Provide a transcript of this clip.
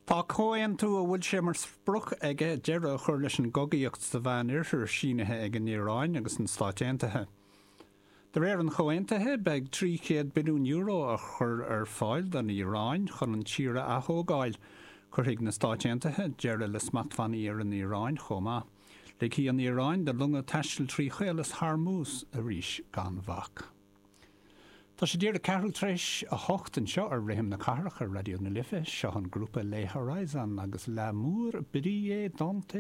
Tá comhaontú a bhfuil sé mar sprioc aige deireadh a chur leis an gcogaíocht sa Mheánoirthear sínithe ag an Iaráin agus na Stáit Aontaithe. De réir an chomhaontaithe, beidh €300 billiún á chur ar fáil don Iaráin chun an tír a athógáil. Cuirfidh na Stáit Aontaithe deireadh le smachtbhannaí ar an Iaráin chomh maith. Ligfidh an Iaráin do longa taisteal trí Chaolas Hormuz arís gan bhac. Tá sé díreach ceathrú tar éis 8 anseo ar Rithim na Cathrach ar Raidió na Life. Seo an grúpa Les Horizons agus L'amour brille dans tes.